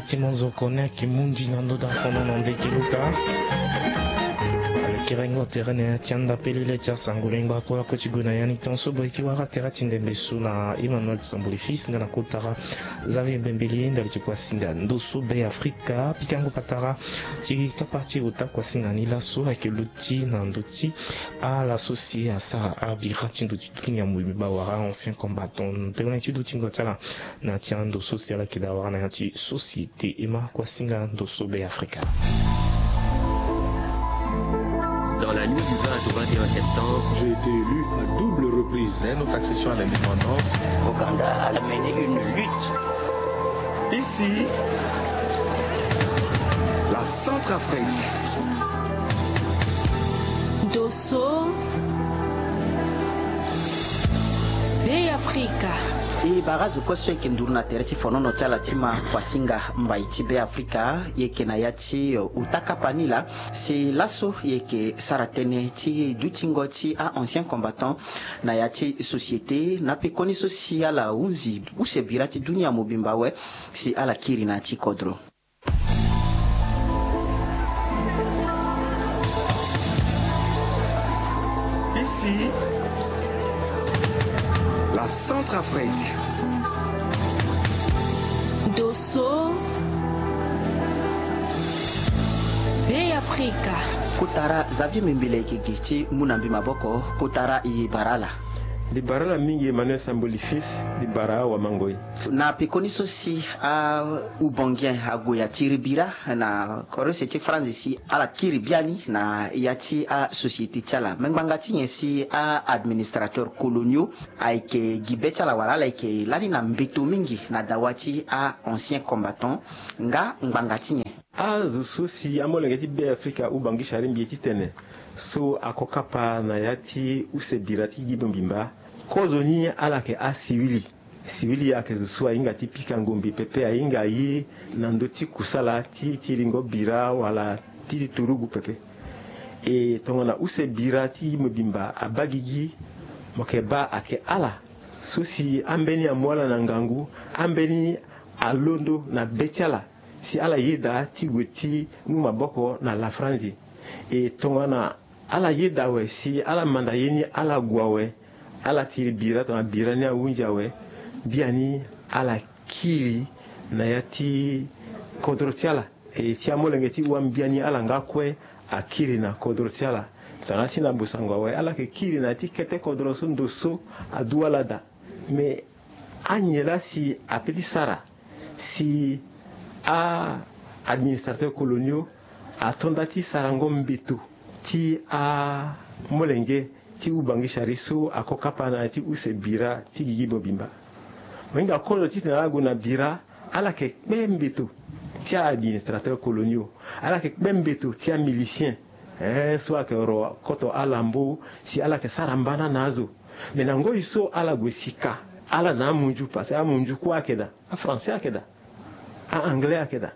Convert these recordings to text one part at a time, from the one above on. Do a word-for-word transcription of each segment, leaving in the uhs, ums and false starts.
Ti monzoko ni ayeke mu ndi na ndö da fono na ndeke luta. Alekerengo tere na ya ti anda pelele ti asango lengba kue lakue ti gue na ya ni tongaso boye ki wara tere ti ndembe so na Emmanuel Sambuli Fils nga na kotara Xavier Mbembele ndali ti kuasinga ndo so Be Afrika. Pikango patara ti kapa ti ota kuasinga ni laso ayeke luti na ndö ti ala so si asara abira ti ndo ti dunia mobimba wala ancien combattant. Tënë ti dutingo ti ala na ti ando so si ala yeke daa wara na ya ti société. E ma kuasinga ndo so Be Afrika. Dans la nuit du vingt au vingt et un septembre, j'ai été élu à double reprise. Dès notre accession à l'indépendance, Ouganda a mené une lutte. Ici, la Centrafrique. Ndo so Be Afrika. E bara azo kue so e yeke nduru na tere ti fonono ti ala ti ma kuasinga mbai ti Be Afrika. E yeke na ya ti, eh, uta kapa ni laa si laso e yeke sara tënë ti dutingo ti a-ancien combattant na ya ti société na pekoni so si ala hunzi use bira ti dunia mobimba awe si ala kiri na ya ti kodro. Ici, la Centrafrique. Ndo so Be Afrika. Kotara Xavier Mbembele yeke gi ti mu na mbi maboko. Kotara e bara ala. Mbi bara ala mingi Emmanuel Samboli Fils, mbi bara awamangoi. Na pekoni so si a-Oubangien ague atiri bira na kodro use ti France si ala kiri biani na ya ti asociété ti ala. Me ngbanga ti nyen si a-administrateur coloniaux ayeke gi be ti ala wala ala yeke lani na mbeto mingi na dawa ti a-ancien combattant nga ngbanga ti nyen? Azo so si amolenge ti Be Afrika Oubangui Chari mbi ye titene so ako kapa na ya ti use bira ti gi mobimba. Kozoni ala yeke asiwili. Siwili ayeke zo so ahinga ti pika ngombe pepe, ahinga aye na ndö ti kusala ti tiringo bira wala ti turugu pepe. E tongana use bira ti gi mobimba abaa gigi, mo yeke baa ayeke ala so si ambeni amu ala na ngangu, ambeni alondo na be ti ala si ala yeda ti gue ti mu maboko na lafranzi. E tongana ala yeda awe si ala manda ye ni ala gue awe, ala tiri bira tongana bira ni ahunzi awe, biani ala kiri na ya ti kodro ti ala. E si amolenge ti wam biani ala nga kue akiri na kodro ti ala. Tongana asi na bosango awe ala yeke kiri na ya ti kete kodro so ndo so adu ala daa. Me anyen laa si ape ti sara si a-administrateur coloniaux ato nda ti sarango mbeto ti amolenge ti Oubangui Chari so ako kapa na ya ti use bira ti gigi mobimba. Mo hinga kozo titene ala gue na bira, ala yeke kpe mbeto ti a-administrateur coloniaux, ala yeke kpe mbeto ti amilicien, eh, so ayeke ro koto alambo si ala yeke sara mbana na azo. Me na ngoi so ala gue si ka ala na amunzu, parce que amunzu kue ayeke daa, afrançais ayeke daa, a-anglais ayeke daa,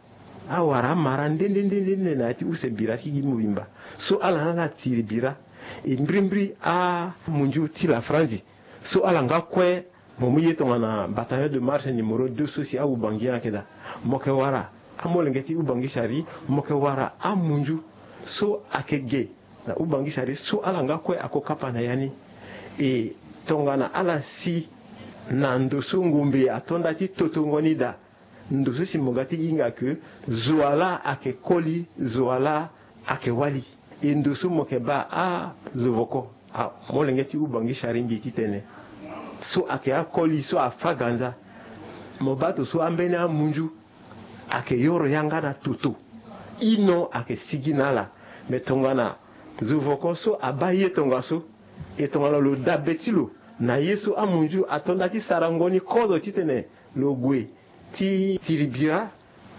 awara amara nde nde nde nde na ya ti use bira ti gi mobimba. So ala na ala tiri bira. E mbirimbiri amunzu ti lafranzi so ala nga kue. Mo mu ye tongana bataillon de marche numéro deux so si a-Oubangui ayeke daa. Mo yeke wara amolenge ti Oubangui Chari, mo yeke wara amunzu so ayeke ge na Oubangui Chari so ala nga kue ako kapa na ya ni. E tongana ala si na ndo so ngombe ato nda ti totongo ni daa, ndo so si mo ga ti hinga ke zo wa laa ayeke koli, zo wa laa ayeke wali. E ndo so mo yeke baa azo voko, amolenge ti Oubangui Chari mbi titene so ayeke akoli so afâ ganza. Mo baa to so ambeni amunzu ayeke yoro yanga na toto. Ino ayeke sigi na ala. Me tongana zo voko so abaa ye tongaso, e tongana lo dabe ti lo na ye so amunzu ato nda ti sarango ni kozo titene lo gue ti tiri bira,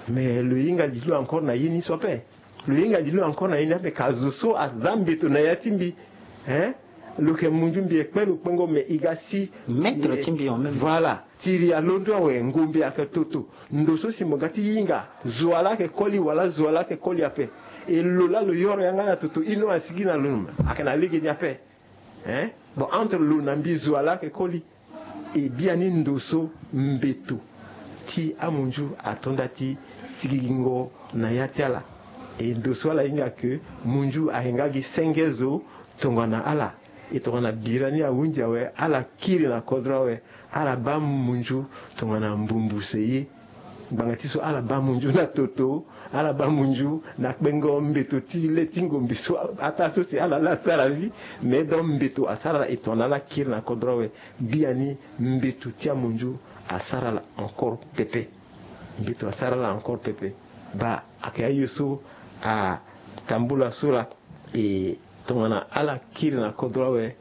me lo hinga lilo encore na ye ni so ape. Lo hinga lilo encore na ye ni ape, ka zo so aza mbeto na ya ti mbi, hein? Lo yeke munzu mbi e kpe lo kpengo, me e ga si maître ti mbi en même. Voilà. Tiri alondo awe, ngombe ayeke toto. Ndo so si mo ga ti hinga, zo wa laa ayeke koli wala zo wa laa ayeke koli ape. E lo laa lo yoro yanga na toto, ino asigi na lo, ayeke na lege ni ape. Hein? Bon, entre lo na mbi, zo wa laa ayeke koli. E biani ndo so mbeto ti amunzu ato nda ti sigigingo na ya ti ala. E ndo so ala hinga ke munzu ayeke nga gi senge zo tongana ala. E tongana bira ni ahunzi awe, ala kiri na kodro awe, ala baa munzu tongana mbumbuse ye. Ngbanga ti so ala baa munzu na toto, ala baa munzu na kpengo mbeto ti le ti ngombe so, ataa so si ala laa asara li. Me donc mbeto asara ala, e tongana ala kiri na kodro awe, biani mbeto ti amunzu asara ala encore pepe. Mbeto asara ala encore pepe. Baa, ayeke aye so atambula so laa. E tongana ala kiri na kodro awe,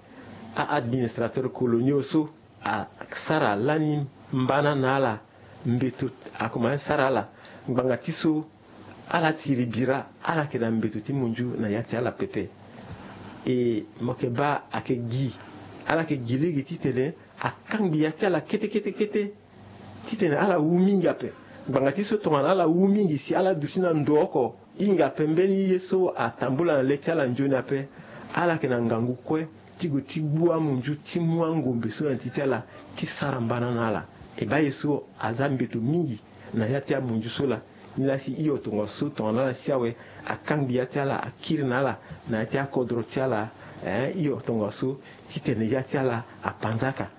a-administrateur coloniaux so asara lani mbana na ala. Mbeto akomanse sara ala. Ngbanga ti so ala tiri bira, ala yeke na mbeto ti munzu na ya ti ala pepe. E mo yeke baa ayeke gi, ala yeke gi lege titene akangbi ya ti ala kete kete kete, titene ala wu mingi ape. Ngbanga ti so tongana ala wu mingi si ala duti na ndo oko, hinga ape mbeni ye so atambula na le ti ala nzoni ape, ala yeke na ngangu kue ti gue ti gbu amunzu ti mu angombe so na ti ti ala ti sara mbana na ala. E baa ye so aza mbeto mingi na ya ti amunzu so laa. Nilaa si hio tongaso tongana ala si awe, akangbi ya ti ala, akiri na ala na ya ti akodro ti ala. Eh, hio tongaso titene ya ti ala apanzaka.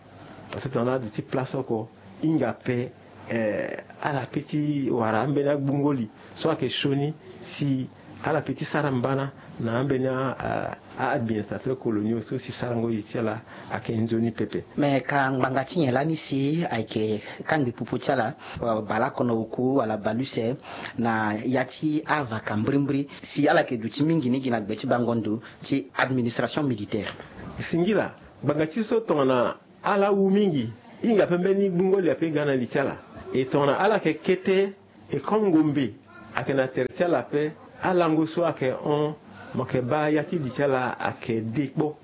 Parce que tongana ala duti place oko, hinga ape, eh, ala pe ti wara ambeni agbungo li so ayeke sioni si ala pe ti sara mbana na ambeni a, a, a-administrateur coloniaux so si sarango ye ti ala ayeke nzoni pepe. Me ka ngbanga ti nyen lani si ayeke kangbi pupu ti ala, eh, baleoko na oku wala baleuse na ya ti avaka mbirimbiri, si ala yeke duti mingi ni gi na gbe ti bango ndo ti administration militaire? Singila, ngbanga ti so tongana ala wu mingi, hinga ape mbeni gbungo li ape ga na li ti ala. E tongana ala yeke kete, e comme ngombe ayeke na tere ti ala ape, alango so ayeke hon, mo yeke baa ya ti li ti ala ayeke de kpo.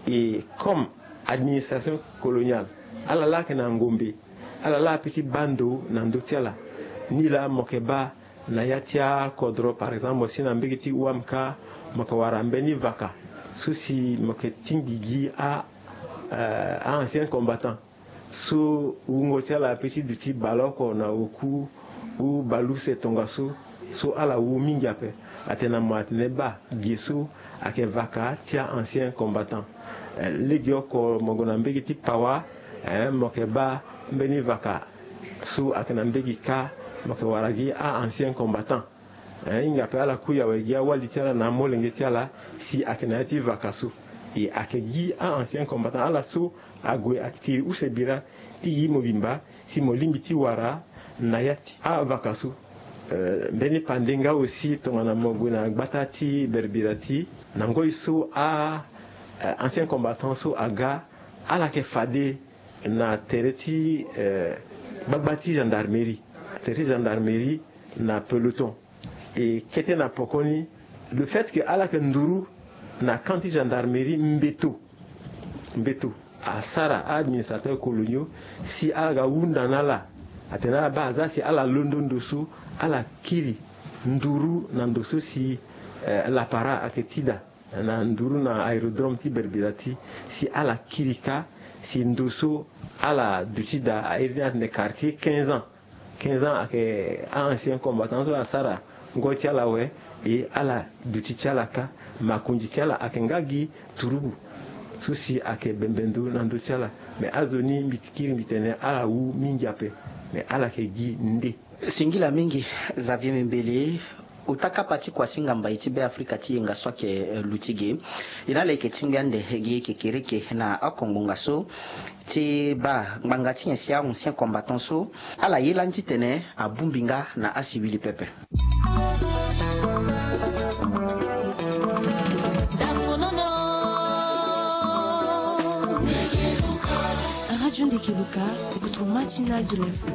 E comme administration coloniale, ala laa ayeke na ngombe, ala laa ape ti baa ndo na ndö ti ala. Nilaa mo yeke baa na ya ti akodro, par exemple, mo si na mbege ti wamka, mo yeke wara mbeni vaka so si mo yeke tingbi gi a, eh, a-ancien combattant so wungo ti ala ape ti duti baleoko na oku ou baleuse tongaso, so ala wu mingi ape. Atene na mo atene baa, ge so ayeke vaka ti a-ancien combattant. Eh, legeoko mo gue na mbege ti Pawa, eh, mo yeke baa mbeni vaka so ayeke na mbege kâ, mo yeke wara gi a-ancien combattant. Eh, hinga ape ala kui awe gi awali ti ala na amolenge ti ala si ayeke na ya ti vaka so. E ayeke gi a-ancien combattant ala so ague atitiri use bira ti gi mobimba si mo lingbi ti wara na ya ti avaka so. Eh, mbeni pande nga aussi tongana mo gue na gbata ti Berbirati, na ngoi so a, eh, ancien combattant so aga, ala yeke fade na tere ti, eh, gbagba ti gendarmerie, tere ti gendarmerie na peloton. E kete na pokoni, le fait que ala yeke nduru na camp ti gendarmerie, mbeto, mbeto asara a-administrateur coloniaux si ala ga hunda na ala. Atene ala baa aza si ala londo ndo so, ala kiri nduru na ndo so si, eh, lapara ayeke ti daa na nduru na aérodrome ti Berbirati, si ala kiri kâ, si ndo so ala duti daa, a iri ni atene quartier quinze ans. Quinze ans ayeke a-ancien combattant so asara ngoi ti ala awe, e ala duti ti ala kâ, makonzi ti ala ayeke nga gi turugu so si ayeke bembe ndo na ndö ti ala. Me azo ni mbi kiri mbi tene ala wu mingi ape, me ala yeke gi nde. Singila mingi, Xavier Mimbele, ota kapa ti kuasinga mbai ti Beafrika ti yenga so ayeke, eh, luti ge. E na ala yeke tingbi ande gi kekereke na akongbonga so ti baa ngbanga ti nyen si a-ancien combattant so ala ye lani titene abongbi nga na asiwili pepe. Radio Ndekeluka, votre matinale de l'info.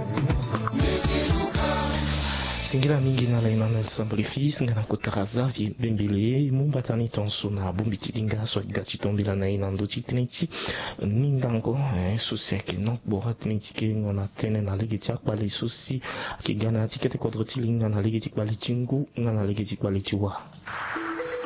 Singila mingi na ala, Emmanuel Samboli Fils, nga na kota Xavier Bembele. Mu mbata ni tongaso na bongbi ti linga so aga ti tombela na e na ndö ti tënë ti ningango, eh, so si ayeke nokbora tënë ti kengo na tënë na lege ti akpale so si ayeke ga na ya ti kete kodro ti linga na lege ti kpale ti ngu nga na lege ti kpale ti wa.